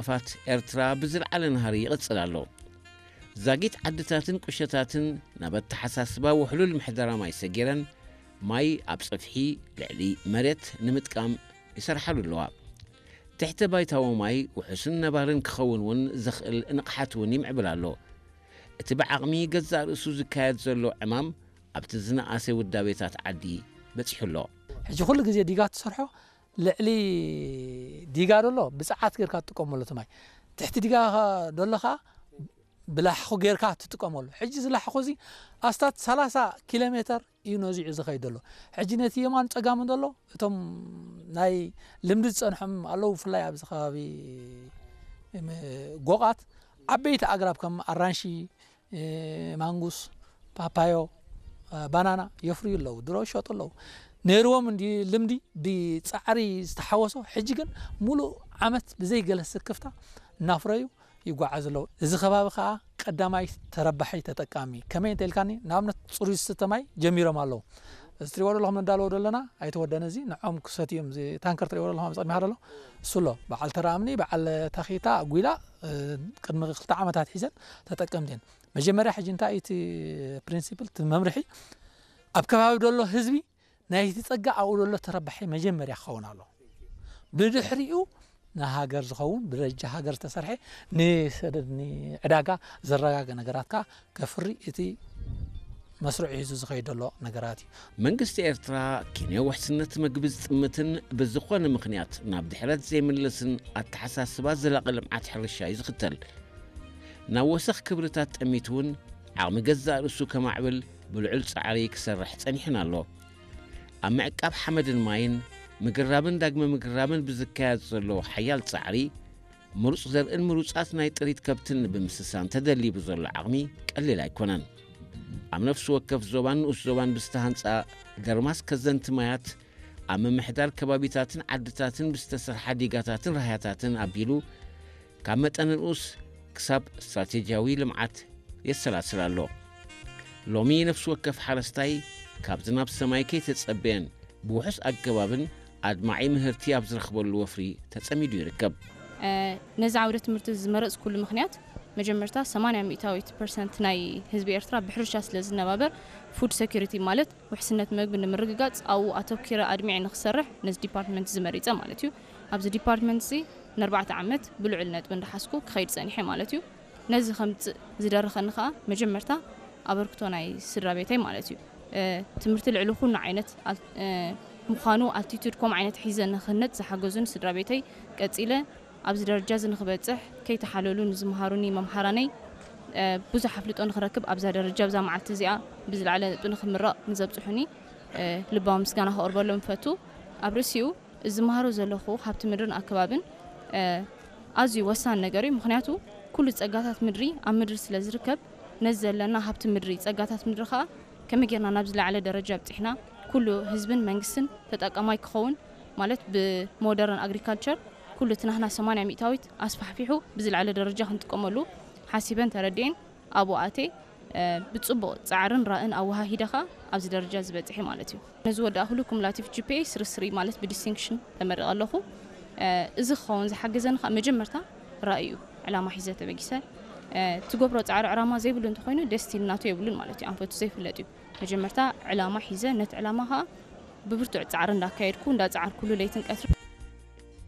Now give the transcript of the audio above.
ዕንቅፋት ኤርትራ ብዝለዓለ ናህሪ ይቕጽል ኣሎ። ዛጊት ዓድታትን ቁሸታትን ናብ ኣተሓሳስባ ውሕሉል ምሕደራ ማይ ሰጊረን፣ ማይ ኣብ ጽፍሒ ልዕሊ መሬት ንምጥቃም ይሰርሓሉ ኣለዋ። ትሕተ ባይታዊ ማይ ውሑስን ነባርን ክኸውን እውን ዘኽእል ንቕሓት እውን ይምዕብል ኣሎ። እቲ ብዓቕሚ ገዛእ ርእሱ ዝካየድ ዘሎ ዕማም ኣብቲ ዝነኣሰ ውዳቤታት ዓዲ በጺሑ ኣሎ። ሕጂ ኩሉ ግዜ ዲጋ ትሰርሖ ልዕሊ ዲጋ ደሎ ብጽዓት ጌርካ ትጥቀመሉ እቲ ማይ። ትሕቲ ዲጋ ደሎ ኸኣ ብላሕኹ ጌርካ ትጥቀመሉ። ሕጂ እዚ ላሕኹ እዚ ኣስታት ሰላሳ ኪሎ ሜተር እዩ ነዚዑ ዝኸይድ ዘሎ። ሕጂ ነቲ የማን ጸጋምን ዘሎ እቶም ናይ ልምዲ ዝጸንሖም ኣለዉ። ብፍላይ ኣብዚ ከባቢ እም፣ ጎቓት ዓበይቲ ኣግራብ ከም ኣራንሺ፣ እ፣ ማንጉስ፣ ፓፓዮ፣ እ፣ ባናና የፍርዩ ኣለዉ። ድሮ ይሸጡ ኣለዉ። ነይርዎም እንዲ ልምዲ ብጻዕሪ ዝተሓወሶ፣ ሕጂ ግን ሙሉእ ዓመት ብዘይ ገለ ስክፍታ እናፍረዩ ይጓዓዙ ኣለዉ። እዚ ከባቢ ከኣ ቀዳማይ ተረባሒ ተጠቃሚ ከመይ እንተ ኢልካኒ፣ ንኣብነት ጽሩይ ዝስተ ማይ ጀሚሮም ኣለዉ። እዚ ትሪእዎ ዘለኹም ነዳለዎ ዘለና ኣይተወደነ፣ እዚ ንዖም ክሰትዮም፣ እዚ ታንከር ትሪእዎ ዘለኹም ኣብ ጸድሚኻ ዘሎ እሱ ኣሎ። በዓል ተራ እምኒ፣ በዓል ታኺታ፣ ኣጉላ፣ እ፣ ቅድሚ ክልተ ዓመታት ሒዘን ተጠቀምቲ እየን። መጀመርያ ሕጂ እንታይ እቲ ፕሪንሲፕል፣ እቲ መምርሒ ኣብ ከባቢ ዘሎ ህዝቢ ናይቲ ጸጋ ኣብኡ ዘሎ ተረባሒ መጀመርያ ክኸውን ኣሎ። ብድሕሪኡ ንሃገር ዝኸውን፣ ብደረጃ ሃገር ዝተሰርሐ ንሰደድ ንዕዳጋ ዘረጋገ ነገራት ከኣ ከፍሪ እቲ መስርዑ ሒዙ ዝኸይድ ዘሎ ነገራት እዩ። መንግስቲ ኤርትራ ኪንዮ ውሕስነት መግቢ ዝጥምትን ብዝኾነ ምኽንያት ናብ ድሕረት ዘይምልስን ኣተሓሳስባ ዘላቒ ልምዓት ሕርሻ እዩ ዝኽተል። ናብ ወሰኽ ክብርታት ጠሚቱ እውን ዓቕሚ ገዛእ ርእሱ ከማዕብል ብልዑል ጻዕሪ ክሰርሕ ጸኒሑን ኣሎ። ኣብ ምዕቃብ ሓመድን ማይን፣ ምግራብን ዳግመ ምግራብን ብዝካየድ ዘሎ ሓያል ጻዕሪ፣ ምሩጽ ዘርእን ምሩጻት ናይ ጥሪት ከብትን ብምስሳን ተደሊቡ ዘሎ ዓቕሚ ቀሊል ኣይኮነን። ኣብ ነፍሲ ወከፍ ዞባን ንኡስ ዞባን ብዝተሃንጻ ደርማስ ከዘንቲ ማያት፣ ኣብ ምምሕዳር ከባቢታትን ዓድታትን ብዝተሰርሓ ዲጋታትን ራህያታትን ኣቢሉ፣ ካብ መጠነ ንኡስ ክሳብ ስትራቴጂያዊ ልምዓት የሰላስል ኣሎ። ሎሚ ነፍሲ ወከፍ ሓረስታይ ካብ ዝናብ ሰማይ ከይተጸበየን ብውሑስ ኣገባብን ኣድማዒ ምህርቲ ኣብ ዝረኽበሉ ወፍሪ ተጸሚዱ ይርከብ። እ፣ ነዚ ዓውደ ትምህርቲ ዝመረጽኩሉ ምኽንያት፣ መጀመርታ ሰማንያ ሚእታዊት ፐርሰንት ናይ ህዝቢ ኤርትራ ብሕርሻ ስለ ዝነባበር፣ ፉድ ሴኩሪቲ ማለት ውሕስነት መግቢ ንምርግጋጽ ኣብኡ ኣተኲረ ኣድሚዐ ንኽሰርሕ ነዚ ዲፓርትመንት እዚ መሪጸ ማለት እዩ። ኣብዚ ዲፓርትመንት እዚ ንኣርባዕተ ዓመት ብልዑል ነጥቢ እንዳሓዝኩ ክኸይድ ጸኒሐ ማለት እዩ። ነዚ ከምጽእ ዝደረኸኒ ከኣ መጀመርታ ኣበርክቶ ናይ ስድራ ቤተይ ማለት እዩ። እ፣ ትምህርቲ ልዕሊ ኩሉ ዓይነት ኣል-፣ እ፣ ምዃኑ ኣልቲቱድ ከምኡ ዓይነት ሒዘ ንኽህነጽ ዝሓገዙን ስድራ ቤተይ፣ ቀጺለ ኣብዚ ደረጃ እዚ ንኽበጽሕ ከይተሓለሉ ንዝመሃሩኒ መምሃራነይ፣ እ፣ ብዙሕ ኣፍልጦ ንኽረክብ ኣብዛ ደረጃ ኣብዛ መዓልቲ እዚኣ ብዝለዓለ ነጥቢ ንኽምረቕ ንዘብጽሑኒ፣ እ፣ ልባዊ ምስጋና ከቕርበሎም እፈቱ። ኣብ ርእሲኡ እዚ ዝመሃሮ ዘለኹ ሃብቲ ምድርን ኣከባብን፣ እ፣ ኣዝዩ ወሳኒ ነገር እዩ። ምኽንያቱ ኩሉ ጸጋታት ምድሪ ኣብ ምድሪ ስለ ዝርከብ፣ ነዚ ዘለና ሃብቲ ምድሪ፣ ጸጋታት ምድሪ ከኣ ከመይ ጌርና ናብ ዝለዓለ ደረጃ ኣብጺሕና፣ ኩሉ ህዝብን መንግስትን ተጠቃማይ ክኸውን፣ ማለት ብሞደርን ኣግሪካልቸር ኩሉ እቲ ናህና ሰማንያ ሚእታዊት ኣስፋሕፊሑ ብዝለዓለ ደረጃ ክንጥቀመሉ ሓሲበን ተረዲኤን ኣብኡ ኣትየ፣ እ፣ ብጽቡቕ ጻዕርን ራእን ኣወሃሂደ ከኣ ኣብዚ ደረጃ ዝበጽሐ ማለት እዩ። ነዚ ወዳእኩሉ ኩሙላቲቭ ጂ ፒ ኤ ስሪ ስሪ ማለት ብዲስቲንክሽን ተመሪቐ ኣለኹ። እ፣ እዚ ክኸውን ዝሓገዘኒ ከኣ መጀመርታ ራእይ እዩ፣ ዕላማ ሒዘ ተበጊሰ። እ፣ ትገብሮ ጻዕሪ ዕላማ ዘይብሉ እንተኾይኑ ደስቲኒ ናቱ የብሉን ማለት እዩ፣ ኣንፈቱ ዘይፍለጥ እዩ። መጀመርታ ዕላማ ሒዘ ነቲ ዕላማ ከኣ ብብርቱዕ ጻዕሪ እንዳካየድኩ እንዳጻዓርኩሉ ለይትን ቀትርን